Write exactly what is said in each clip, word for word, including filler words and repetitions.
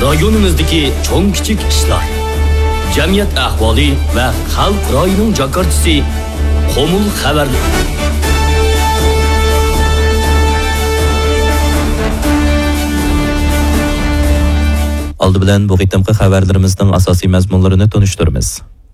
رايونىمىزدىكى چوڭ كىچىك ئىشلار، جەمئىيەت ئەھۋالى ۋە خەلق رايىنىڭ جاكارچىسى، قۇمۇل خەۋەرلىرى. ئالدى بىلەن بۇ قېتىمقى خەۋەرلىرىمىزنىڭ ئاساسىي مەزمۇنلىرىنى تونۇشتۇرىمىز.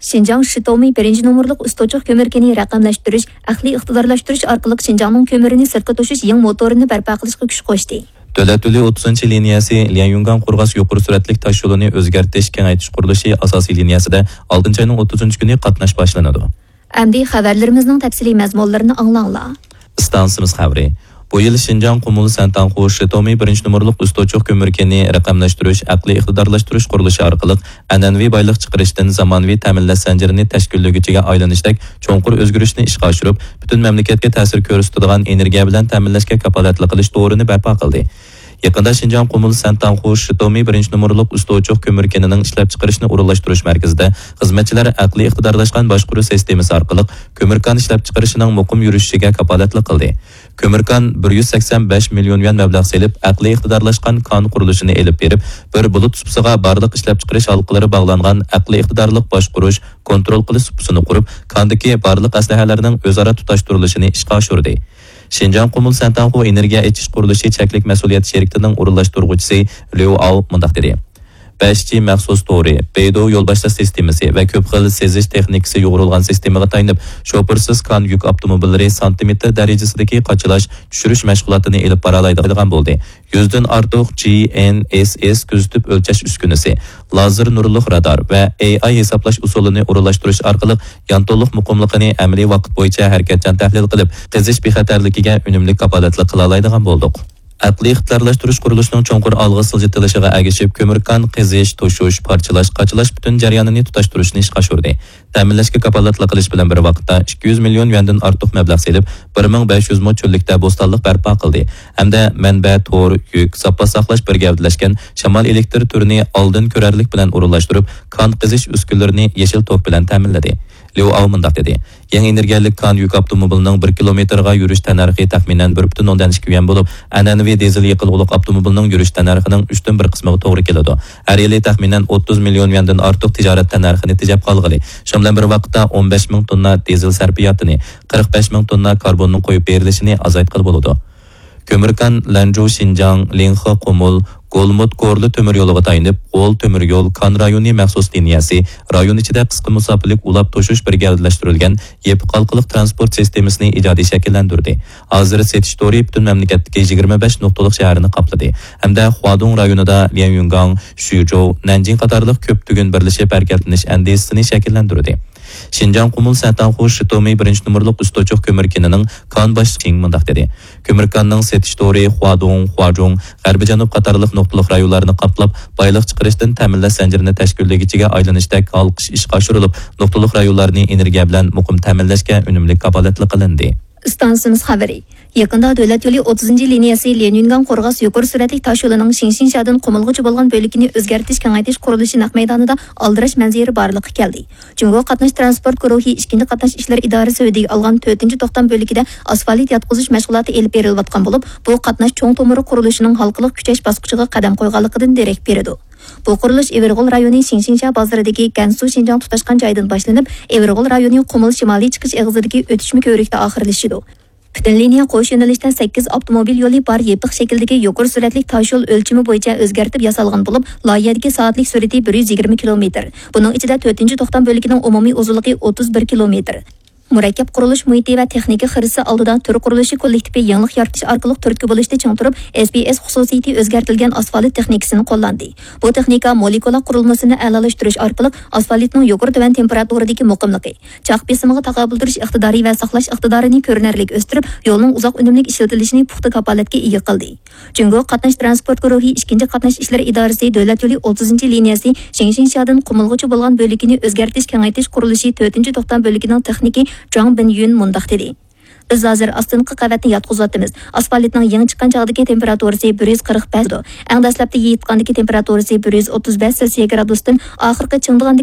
شىنجاڭ شىتومى بىرىنچى نومۇرلۇق ئۈستوچۇق كۆمۈر كېنى رەقەملەشتۈرۈش، ئەقلىي ئىقتىدارلاشتۇرۇش ئارقىلىق شىنجاڭنىڭ كۆمۈرىنى سىرتقا توشۇش يېڭى موتورىنى بەرپا قىلىشقا كۈچ قوشتى. دۆلەت يولى ئوتتۇزىنچى لىنىيەسى ليەنيۈنگاڭ قورغاس يۇقىرى سۈرئەتلىك تاش يولىنى ئۆزگەرتىش، كېڭەيتىش قۇرۇلۇشى ئاساسىي لىنىيەسىدە ئالتىنچى ئاينىڭ ئوتتۇزىنچى كۈنى قاتناش باشلىنىدۇ. ئەمدى خەۋەرلىرىمىزنىڭ تەپسىلىي مەزمۇنلىرىنى ئاڭلاڭلار. ئىستانسىمىز خەۋىرى. بۇ يىل شىنجاڭ قۇمۇل سەنتاڭخۇ شىتومى بىرىنچى نومۇرلۇق ئۈستوچۇق كۆمۈر كېنى رەقەملەشتۈرۈش، ئەقلىي ئىقتىدارلاشتۇرۇش قۇرۇلۇشى ئارقىلىق ئەنئەنىۋى بايلىق چىقىرىشتىن زامانىۋى تەمىنلەش زەنجىرىنى تەشكىللىگۈچىگە ئايلىنىشتەك چوڭقۇر ئۆزگىرىشنى ئىشقا ئاشۇرۇپ، پۈتۈن مەملىكەتكە تەسىر كۆرسىتىدىغان ئېنېرگىيە بىلەن تەمىنلەشكە كاپالەتلىك قىلىش تورىنى بەرپا قىلدى. يېقىندا شىنجاڭ قۇمۇل سەنتاڭخۇ شىتومى بىرىنچى نومۇرلۇق ئۈستوچۇق كۆمۈر كېنىنىڭ ئىشلەپچىقىرىشنى ئورۇنلاشتۇرۇش مەركىزىدە خىزمەتچىلەر ئەقلىي ئىقتىدارلاشقان باشقۇرۇش سىستېمىسى ئارقىلىق كۆمۈر كان ئىشلەپچىقىرىشىنىڭ مۇقىم يۈرۈشۈشىگە كاپالەتلىك قىلدى. كۆمۈر كان بىر يۈز سەكسەن بەش مىليون يۈەن مەبلەغ سېلىپ، ئەقلىي ئىقتىدارلاشقان كان قۇرۇلۇشىنى ئېلىپ بېرىپ، بىر بۇلۇت سۇپىسىغا بارلىق ئىشلەپچىقىرىش ھالقىلىرى باغلانغان ئەقلىي ئىقتىدارلىق باشقۇرۇش، كونترول قىلىش سۇپىسىنى قۇرۇپ، كاندىكى بارلىق ئەسلىھەلەرنىڭ ئۆزئارا تۇتاشتۇرۇلۇشىنى ئىشقا ئاشۇردى. شىنجاڭ قۇمۇل سەنتاڭخۇ ئېنېرگىيە ئېچىش قۇرۇلۇشى چەكلىك مەسئۇلىيەت شىركىتىنىڭ ئورۇنلاشتۇرغۇچىسى ليۇ ئاۋ مۇنداق دېدى: بەش جى مەخسۇس تورى، بەيدۇ يول باشلاش سىستېمىسى ۋە كۆپ خىل سېزىش تېخنىكىسى يۇغۇرۇلغان سىستېمىغا تايىنىپ، شوپۇرسىز كان يۈك ئاپتوموبىللىرى سانتىمېتىر دەرىجىسىدىكى قاچىلاش، چۈشۈرۈش مەشغۇلاتىنى ئېلىپ بارالايدىغان بولدى. يۈزدىن ئارتۇق جى ئېن ئېس ئېس كۆزىتىپ ئۆلچەش ئۈسكۈنىسى، لازېر نۇرلۇق رادار ۋە ئېي ئاي ھېسابلاش ئۇسۇلىنى ئورۇنلاشتۇرۇش ئارقىلىق يانتونلۇق مۇقىملىقىنى ئەمەلىي ۋاقىت بويىچە ھەرىكەتچان تەھلىل قىلىپ، قېزىش بىخەتەرلىكىگە ئۈنۈملۈك كاپالەتلىك قىلالايدىغان بولدۇق. ئەقلىي ئىقتىدارلاشتۇرۇش قۇرۇلۇشىنىڭ چوڭقۇر ئالغا سىلجىتىلىشىغا ئەگىشىپ، كۆمۈر كان قېزىش، توشۇش، پارچىلاش، قاچىلاش پۈتۈن جەريانىنى تۇتاشتۇرۇشنى ئىشقا ئاشۇردى. تەمىنلەشكە كاپالەتلىك قىلىش بىلەن بىر ۋاقىتتا، ئىككى يۈز مىليون يۈەندىن ئارتۇق مەبلەغ سېلىپ، بىر مىڭ بەش يۈز مو چۆللۈكتە بوستانلىق بەرپا قىلدى ھەمدە مەنبە، تور، يۈك، زاپاس ساقلاش بىر گەۋدىلەشكەن شامال ئېلېكتر تۈرىنى ئالدىن كۆرەرلىك بىلەن ئورۇنلاشتۇرۇپ، كان قېزىش ئۈسكۈنىلىرىنى يېشىل توك بىلەن تەمىنلىدى. ليۇ ئاۋ مۇنداق دېدى: يېڭى ئېنېرگىيەلىك كان يۈك ئاپتوموبىلىنىڭ بىر كىلومېتىرغا يۈرۈش تەننەرخى تەخمىنەن بىر پۈتۈن ئوندىن ئىككى يۈەن بولۇپ، ئەنئەنىۋى دىزېل يېقىلغۇلۇق ئاپتوموبىلنىڭ يۈرۈش تەننەرخىنىڭ ئۈچتىن بىر قىسمىغا توغرا كېلىدۇ. ھەر يىلى تەخمىنەن ئوتتۇز مىليون يۈەندىن ئارتۇق تىجارەت تەننەرخىنى تېجەپ قالغىلى، شۇنىڭ بىلەن بىر ۋاقىتتا ئون بەش مىڭ توننا دىزېل سەرپىياتىنى، قىرىق بەش مىڭ توننا كاربوننىڭ قويۇپ بېرىلىشىنى ئازايتقىلى بولىدۇ. كۆمۈر كان لەنجۇ شىنجاڭ، لىڭخې قۇمۇل، گولمۇت كورلا تۆمۈر يولىغا تايىنىپ، غول تۆمۈر يول كان رايونى مەخسۇس لىنىيەسى رايون ئىچىدە قىسقا مۇساپىلىك ئۇلاپ توشۇش بىر گەۋدىلەشتۈرۈلگەن يېپىق ھالقىلىق تىرانسپورت سىستېمىسىنى ئىجادىي شەكىللەندۈردى. ھازىر سېتىش تورى پۈتۈن مەملىكەتتىكى يىگىرمە بەش نۇقتىلىق شەھەرنى قاپلىدى ھەمدە خۇادۇڭ رايونىدا ليەنيۈنگاڭ، شۈيجوۋ، نەنجىڭ قاتارلىق كۆپ تۈگۈن بىرلىشىپ ھەرىكەتلىنىش ئەندىزىسىنى شەكىللەندۈردى. شىنجاڭ قۇمۇل سەنتاڭخۇ شىتومى بىرىنچى نومۇرلۇق ئۈستوچۇق كۆمۈر كېنىنىڭ كان باشلىقى چىڭ مۇنداق دېدى: كۆمۈر كاننىڭ سېتىش تورى خۇادۇڭ، خۇاجۇڭ، غەربىي جەنۇب قاتارلىق نۇقتىلىق رايونلارنى قاپلاپ، بايلىق چىقىرىشتىن تەمىنلەش زەنجىرىنى تەشكىللىگۈچىگە ئايلىنىشتەك ھالقىش ئىشقا ئاشۇرۇلۇپ، نۇقتىلىق رايونلارنى ئېنېرگىيە بىلەن مۇقىم تەمىنلەشكە ئۈنۈملۈك كاپالەتلىك قىلىندى. ئىستانسىمىز خەۋىرى. يېقىندا دۆلەت يولى ئوتتۇزىنچى لىنىيەسى ليەنيۈنگاڭ قورغاس يۇقىرى سۈرئەتلىك تاش يولىنىڭ شىڭشىنشادىن قۇمۇلغىچە بولغان بۆلىكىنى ئۆزگەرتىش، كېڭەيتىش قۇرۇلۇشى نەق مەيدانىدا ئالدىراش مەنزىرە بارلىققا كەلدى. جۇڭگو قاتناش تىرانسپورت گۇرۇھى ئىككىنچى قاتناش ئىشلىرى ئىدارىسى ھۆددىگە ئالغان تۆتىنچى توختام بۆلىكىدە ئاسفالت ياتقۇزۇش مەشغۇلاتى ئېلىپ بېرىلىۋاتقان بولۇپ، بۇ قاتناش چوڭ تومۇرى قۇرۇلۇشىنىڭ ھالقىلىق كۈچەش باسقۇچىغا قەدەم قويغانلىقىدىن دېرەك بېرىدۇ. بۇ قۇرۇلۇش ئېۋىرغول رايونى شىڭشىنشا بازىرىدىكى گەنسۇ شىنجاڭ تۇتاشقان جايىدىن باشلىنىپ، ئېۋىرغول رايونى قۇمۇل شىمالىي چىقىش ئېغىزىدىكى ئۆتۈشمە كۆۋرۈكتە ئاخىرلىشىدۇ. پۈتۈن لىنىيە قوش يۆنىلىشتە سەككىز ئاپتوموبىل يولى بار يېپىق شەكىلدىكى يۇقىرى سۈرئەتلىك تاش يول ئۆلچىمى بويىچە ئۆزگەرتىپ ياسالغان بولۇپ، لايىھەدىكى سائەتلىك سۈرئىتى بىر يۈز يىگىرمە كىلومېتىر. بۇنىڭ ئىچىدە تۆتىنچى توختام بۆلىكىنىڭ ئومۇمىي ئۇزۇنلۇقى ئوتتۇز بىر كىلومېتىر. مۇرەككەپ قۇرۇلۇش مۇھىتى ۋە تېخنىكا خىرىسى ئالدىدا تۈر قۇرۇلۇشى كوللېكتىپى يېڭىلىق يارىتىش ئارقىلىق تۈرتكە بولۇشتا چىڭ تۇرۇپ، ئېس پى ئېس خۇسۇسىيىتى ئۆزگەرتىلگەن ئاسفالت تېخنىكىسىنى قوللاندى. بۇ تېخنىكا مولېكۇلا قۇرۇلمىسىنى ئەلالاشتۇرۇش ئارقىلىق ئاسفالتنىڭ يۇقىرى تۆۋەن تېمپېراتۇرىدىكى مۇقىملىقى، چاق بېسىمىغا تاقابىل تۇرۇش ئىقتىدارى ۋە ساقلاش ئىقتىدارىنى كۆرۈنەرلىك ئۆستۈرۈپ، يولنىڭ ئۇزاق ئۈنۈملۈك ئىشلىتىلىشىنى پۇختا كاپالەتكە ئىگە قىلدى. جۇڭگو قاتناش تىرانسپورت گۇرۇھى ئىككىنچى قاتناش ئىشلىرى ئىدارىسى دۆلەت يولى ئوتتۇزىنچى لىنىيەسى شىڭشىنشادىن قۇمۇلغىچە بولغان بۆلىكىنى ئۆزگەرتىش، كېڭەيتىش قۇرۇلۇشى تۆتىنچى توختام بۆلىكىنىڭ تېخنىكى جاڭ بىنيۈن مۇنداق دېدى: بىز ھازىر ئاستىنقى قەۋەتنى ياتقۇزۇۋاتىمىز. ئاسفالتنىڭ يېڭى چىققان چاغدىكى تېمپېراتۇرىسى بىر يۈز قىرىق بەش، ئەڭ دەسلەپتە يېيىتقاندىكى تېمپېراتۇرىسى بىر يۈز ئوتتۇز بەش سېلسىيە گرادۇستىن ئاخىرقى چىڭدىغاندىكى